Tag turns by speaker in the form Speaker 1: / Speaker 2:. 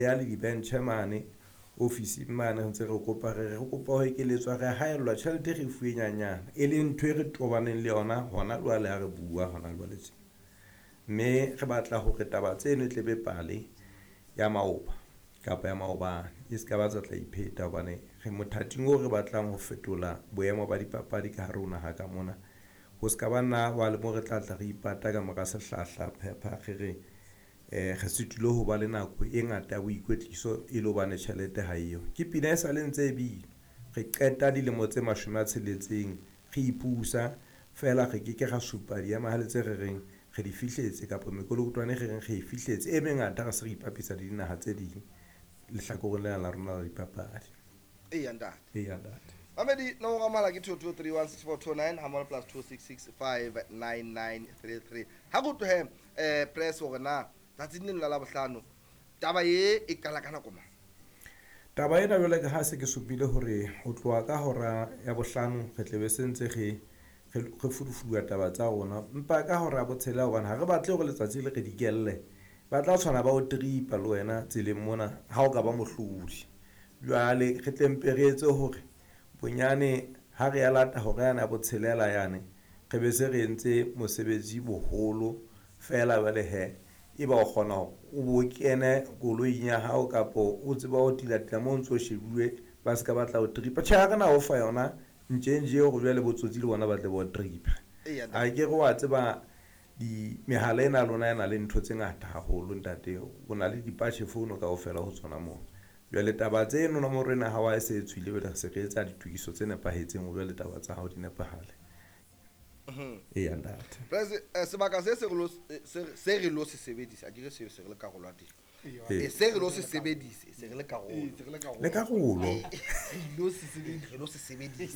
Speaker 1: Ya le dibentjhe mane ofising mane, re ntse re kopa, re kopa ho ekeletswa, re haellwa tjhelete, re fuwe nyanyana, e leng ntho e re tobaneng le yona hona jwale ha re bua hona jwale tje. Mme re batla hore taba tseno e tle be pale ya maoba kapa ya maobane, e se ka ba tsa tla ipheta hobane re mothating oo re batlang ho fetola boemo ba dipapadi ka hare ho naha ka mona. Ho se ka ba nna wa le mo re tla tla re ipata ka mora sehlahla phepha, re re re sitilwe ho ba le nako e ngata ya boikwetliso e le hobane tjhelete ha eyo. Ke pina e sale ntse e bina, re qeta dilemo tse 60 re ipusa feela, re ke ke ra supa diemahale tse re reng re di fihletse kapa mekolokotwane re reng re e fihletse e mengata, re se re ipapisa le dinaha tse ding lehlakoreng lena la rona la dipapadi.
Speaker 2: Eya ntate.
Speaker 1: Eya ntate.
Speaker 2: Mamedi, nomoro ya mohala ke 22316429 ha mmoho le +26659933. Ha re utlwe he press hore na tsatsing leno la Labohlano taba e e qala ka nako mang.
Speaker 1: Taba ena jwale ka ha se ke supile hore ho tloha ka hora ya bohlano re tle be se ntse re fudufuduwa taba tsa rona, empa ka hora ya botshelela, hobane ha re batle hore letsatsi le re dikelle, ba tla tshwana ba o tripa le wena tseleng mona ha o ka ba mohlodi. Jwale re tle mpe re etse hore bonyane ha re ya lata hora yane ya botshelela yane, re be se re entse mosebetsi boholo feela. Jwale he, e ba o kgona hore o bo kene koloing ya hao kapa o tseba ho tilatila mo o ntso shebuwe, ba se ka batla ho tripa. Tjhe, ha re na o fa yona ntjenje hore jwale botsotsi le bona ba tle ba o tripa.
Speaker 2: Eya.
Speaker 1: A ke re wa tseba di mehala ena ya lona e na le ntho tse ngata haholo ntate, o na le dipatjhe phone kaofela ho tsona moo. Jwale taba tseno, nomoro ena ya hao ha e se e tswile, jwale re se re etsa ditokiso tse nepahetseng hore jwale taba tsa hao di nepahale. Eya ntate.
Speaker 2: Press, sebaka se se re lo se re lo se sebedisa, a ke re se re le karolo ya teng.
Speaker 1: Ee.
Speaker 2: Se re lo se sebedise, se re le karolo.
Speaker 1: Le karolo.
Speaker 2: Re lo se sebedisa.